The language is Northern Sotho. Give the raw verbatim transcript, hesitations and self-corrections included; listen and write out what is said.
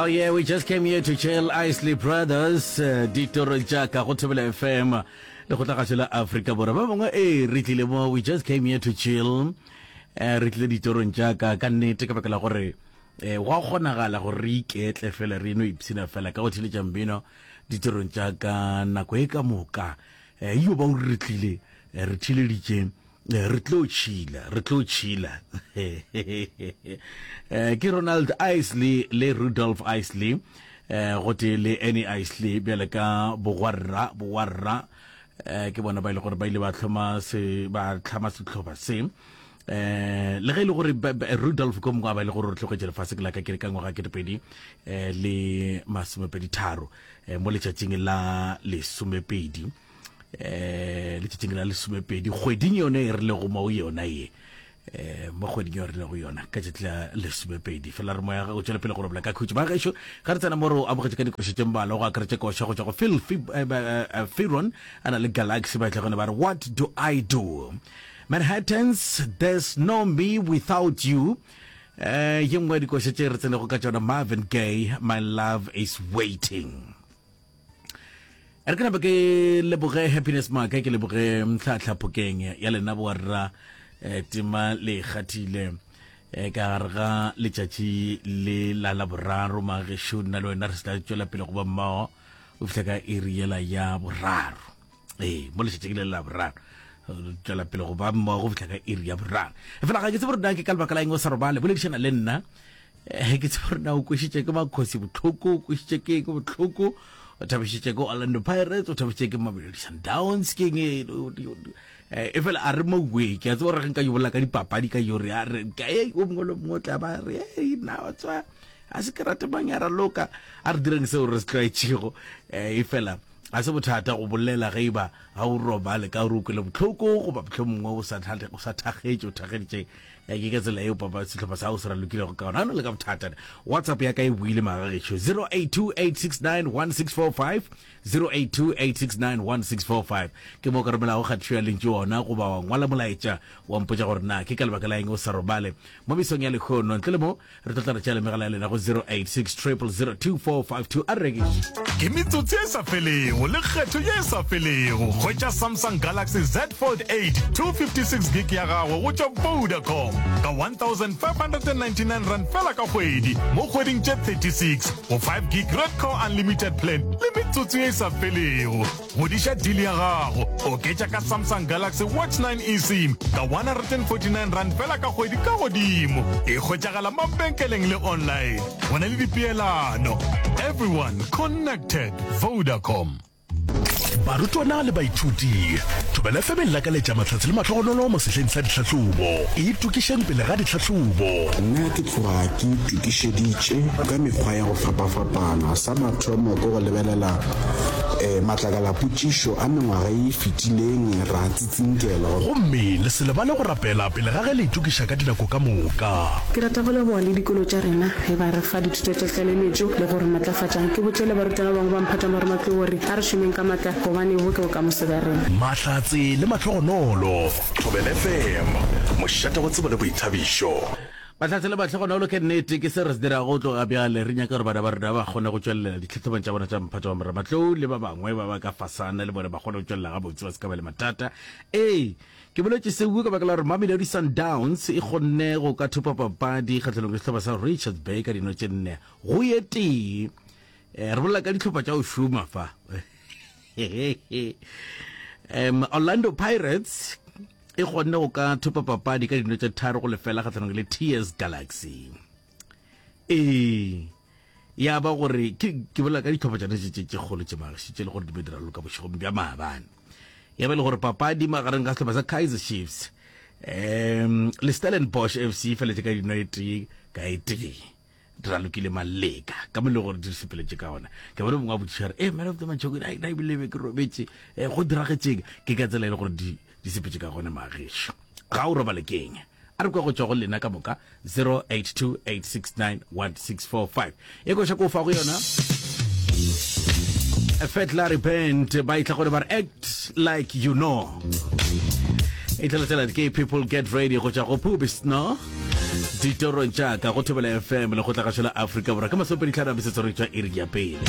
Oh yeah, we just came here to chill Isley Brothers, eh, ditoro tša ka go Thobela FM le go tla la Afrika Borwa. Ba bangwe ee re tlile mo we just came here to chill. Eh re tlile ditorong tša ka ka nnete ka baka la gore eh gwa kgonagala gore re iketle fela re no ipshina fela ka go theletša mmino ditorong tša ka nako e ka moka. Eh yo ba o re tlile eh, re theleditše eh, re tlo tšhila re tlo tšhila eh ke Ronald Isley le Rudolph Isley eh gotee le Annie Isley bjale ka bogwarra bogwarra eh ke bona ba ile gore ba ile ba hloma se ba tlhama sehlopha se eh le ge e le gore ba- ba- Rudolph ko mongwe a ba ile gore re tlogetše lefase ke la ka ke ka ngwaga ketepedi eh le masomepedi tharo eh mo letšatšing la lesomepedi eh letšatšing la lesomepedi kgweding yone e re lego mo yona ye eh mo kgweding yo re lego yona ka tšatši la lesomepedi fela re moya o tšwele pele go robala ka khutšo ba gešo ga re tsena mo re o amogetše ka dikoša tše mmalwa go akaretša koša go tšwa go Phil Fi- eh, eh, eh, Fearon a na le Galaxy ba tla gone ba re what do I do Manhattans there's no me without you eh ye nngwe ya dikoša tše re tsenego ka tšona Marvin Gaye my love is waiting re ke nape ke leboge happiness maaka ke leboge mtlhatlha phokeng ya lena borra eh, tema le kgathile eh, ka gare ga letšatši le la laboraro magešo nna le wena re se tla tšwela pele go ba mmogo o fihla ka iri yela ya boraro ee mo letšatšing le la boraro re tšwela pele go ba mmogo go fihla ka iri ya boraro fela ga ke tsebe gore na ke ka lebaka la eng o sa robale boledišana le nna eh ke tsebe gore na o kwešitše ke makgosi bohloko o kwešitše ke eng bohloko o thabišitše ke Orlando Pirates o thabišitše ke Mamelodi Sundowns ke eng e eh, e fela a re mowe ke a tseba gore ge nka yo bolela ka dipapadi ka yo re a re ka e o mongwe le mongwe o tla ba re ei nna wa tswa a se ke rate mang ya raloka a re direng seo re se tlwaetšego eh, e fela a se bothata go bolela ge e ba ga o robale ka gore o kwele bohloko goba mohlomongwe o sa thate- o sa thakgetše o thakgeditše eh, ke ka tsela eo papa sehlopha sa gago se ralokilego ka gona ga o na le ka bothata whatsapp ya ka e buile magagešo zero eight two eight six nine one six four five zero eight two eight six nine one six four five ke mo o ka romelago kgatišo ya lentšu ona goba wa ngwala molaetša wa mpotša gore na ke ka lebaka la eng o sa robale mo mesong ya lekgono ntle le mo re tlo tla re tšea le megala ya lena go zero eight six triple zero two four five two a re rekiše Ke metsotso e sa felego le kgetho ye e sa felego. Hwetša Samsung Galaxy Z Fold eight two fifty six gig ya gago go tšwa Vodacom ka one thousand five hundred and ninety nine rand fela ka kgwedi mo kgweding tše thirty six go five gig Redco Unlimited plan le metsotso ye e sa felego. Godiša deal ya gago, oketša ka Samsung Galaxy Watch nine eSIM ka one hundred and forty nine rand fela ka kgwedi ka godimo. E hwetšagala mabenkeleng le online. Go na le dipeelano. Everyone connected. Vodacom. Barutwana le baithuti, Thobela F M e lakaletša mahlatse le mahlogonolo mo sehleng sa ditlhahlobo. Itokišeng pele ga ditlhahlobo. Nna ke tloga ke itokišeditše ka mekgwa ya go fapafapana. Sa mathomo ke go lebelela um matlakalapotšišo a mengwaga e fetileng ra tsitsinkela. Gomme le se lebale go rapela pele ga ge le itokiša ka dinako ka moka. Ke rata go leboga le dikolo tša rena ge ba re fa dithuto tša tlaleletšo le go re matlafatša. Ke botše le barutwana ba bangwe ba mphatša marematlou gore a re šomeng ka matla gobane bo ke bokamoso bja rena. Mahlatse le mahlogonolo. Thobela F M, mošate wa tsebo le boithabišo. Mahlatse le mahlogonolo ke nnete, ke se re se dirago go tloga bjale. Re nyaka gore bana ba rena ba kgone go tšwelela ditlhahlobong tša bona tša mphato wa marematlou le ba bangwe ba ba ka fasana le bona ba kgone go tšwelela gabotse ba se ka ba le mathata. Ee, ke boletše seo ka baka la gore Mamelodi Sundowns e kgonne go ka thopa papadi kgahlanong le sehlopha sa Richards Bay ka dino tše nne go ye tee. Eh, re bolela ka dihlopha tša go šoma fa. Um, Orlando Pirates e kgonne go ka thopa papadi ka dino tše tharo go lefela kgahlanong le T S Galaxy. Ee, ya ba gore ke ke bolela ka dihlopha tšona tše tše kgolo tše magaši tše le gore di be di raloka bošegong bja maabane. Ya ba le gore papadi magareng ga sehlopha sa Kaizer Chiefs um le Stellenbosch F C e feletše ka dino e tee ka e tee. Di ralokile maleka ka mo le gore di sepeletše ka ona. Ke bone mongwe a botšiša re, eh, man of the match, na, na ebile be ke robetše, eh, go diragetšeng? Ke ka tsela e le gore di, di sepetše ka gona magešo. Ga o robale ke eng? A re kwa go tšwa go lena ka moka zero eight two eight six nine one six four five. E koša ko fa go yona. Fat Larry Band ba itla gore ba re act like you know. E tla latela ke People Get Ready go tšwa go Pubis no. Ditorong tša ka go Thobela F M, Lekgotlagašo la Afrika Borwa, ke masomepedi tlhano a metsotso re tšwa iri ya pele.